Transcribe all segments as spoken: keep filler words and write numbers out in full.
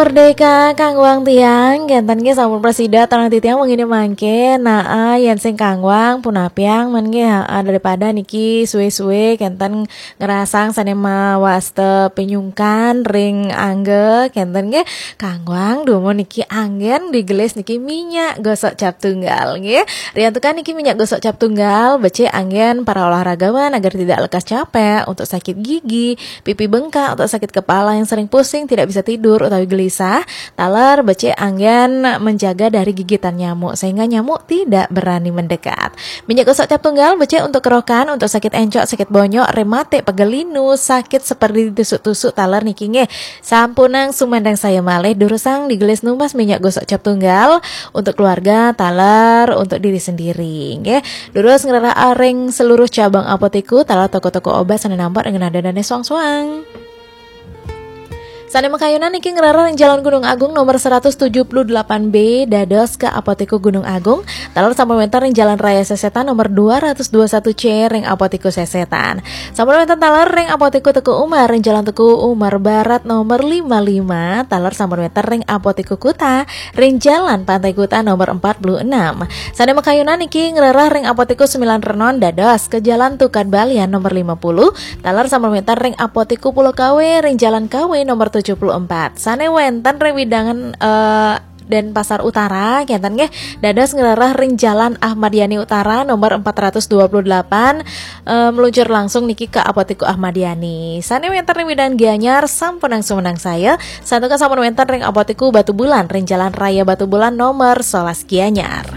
Merdeka kangguang tiang, kenten nggih sampun prasida teng titiang wengi mangke. Nah, yen sing kangguang punapiang men nggih, ha, daripada niki suwe-suwe kenten ngrasang sane mawasta pinyungkan ring angga, kenten nggih kangguang dumun niki anggen digelis niki minyak gosok cap tunggal nggih. Riantukan niki minyak gosok cap tunggal becik anggen para olahragawan agar tidak lekas capek, untuk sakit gigi, pipi bengkak, untuk sakit kepala yang sering pusing, tidak bisa tidur utawi gelisah, taler becik anggen menjaga dari gigitan nyamuk sehingga nyamuk tidak berani mendekat. Minyak gosok cap tunggal becik untuk kerokan, untuk sakit encok, sakit bonyok, rematik, pegel linu, sakit seperti ditusuk-tusuk, taler niki nggih. Sampunang sumandang saya malih durusang digelis numbas minyak gosok cap tunggal untuk keluarga, taler untuk diri sendiri nggih. Durus ngrereh ring seluruh cabang apotiku, taler toko-toko obat sane nampak dengan ada dane suang-suang. Sane makayunan niki ngrereh ring Jalan Gunung Agung nomor seratus tujuh puluh delapan B, dados ke Apotiku Gunung Agung, taler sampun wenten ring Jalan Raya Sesetan nomor dua ratus dua satu C ring Apotiku Sesetan. Sampun wenten taler ring Apotiku Teuku Umar ring Jalan Teuku Umar Barat nomor lima lima, taler sampun wenten ring Apotiku Kuta ring Jalan Pantai Kuta nomor empat puluh enam. Sane makayunan niki ngrereh ring Apotiku Sembilan Renon dados ke Jalan Tukad Balian nomor lima puluh, taler sampun wenten ring Apotiku Pulau Kawe ring Jalan Kawe nomor tujuh puluh empat. Sane wenten ring wewidangan, eh, Denpasar Utara, kenten nggih, dados ngrereh ring Jalan Ahmad Yani Utara nomor empat ratus dua puluh delapan, eh, meluncur langsung niki ke Apotiku Ahmad Yani. Sane wenten ring wewidangan Gianyar, sampunang sumandang saya, santukan sampun wenten ring Apotiku Batubulan ring Jalan Raya Batubulan nomor sebelas Gianyar.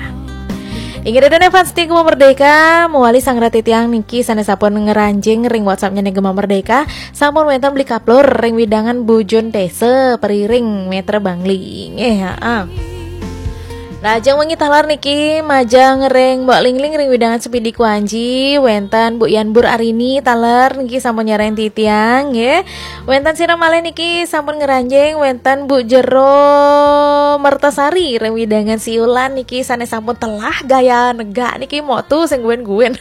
Inggih ida dané fans setia Gema Merdeka, mawali sang rati tiang niki sané sampun ngranjing ring WhatsApp-nya nih Gema Merdeka, sampun wénten beli kaplur ring wewidangan Bujun Desa Periring, Metre Bangli. Nggih, heeh. Lajeng wengi taler niki majeng ring Mbok Lingling ring wewidangan Sepidi Kuanji, wénten Bu Yan Bur Arini taler niki sampun nyarengin titiang, nggih. Wénten sira malih niki sampun ngranjing, wénten Bu Jero Mertasari ring wewidangan Siulan niki sané sampun telah gaya negak niki motu sing guwén-guwén.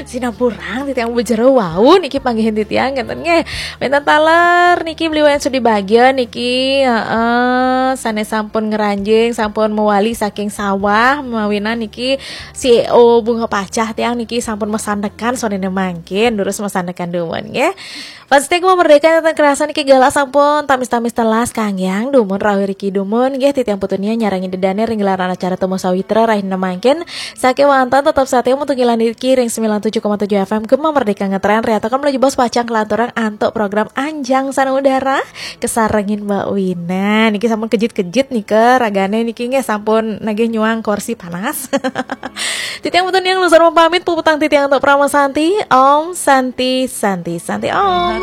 Sinampurang titiang Bu Jero wau niki panggihin titiang ngénten nggih. Wénten taler niki Beli Wayan Sudi Bagya niki, heeh, sané sampun ngranjing, sampun mawali saking sawah, mawinan niki C E O Bunga Pacah tiang niki sampun masandekan soréné mangkin, durus masandekan dumun nggih. Fans setia Gema Merdeka, nénten kerasa niki galah sampun tamis-tamis telas, kanggiang dumun rauh riki dumun nggih, titiang Putu Nia nyarengin ida dané ring gelaran acara Temu Sawitra rahina mangkin. Sakéwanten tetep satia mugi niki ring sembilan tujuh koma tujuh F M Gema Merdeka ngetren, riantukan menuju bos pacang kelanturang antuk program Anjang Sanubara, kesarengin Mbak Wina. Niki sampun kejit-kejit nika ragané niki nggih, sampun nagih nyuang kursi panas. Titiang Putu Nia nglungsur pamit, puputang titiang antuk Parama Santi. Om Santi, Santi, Santi Om.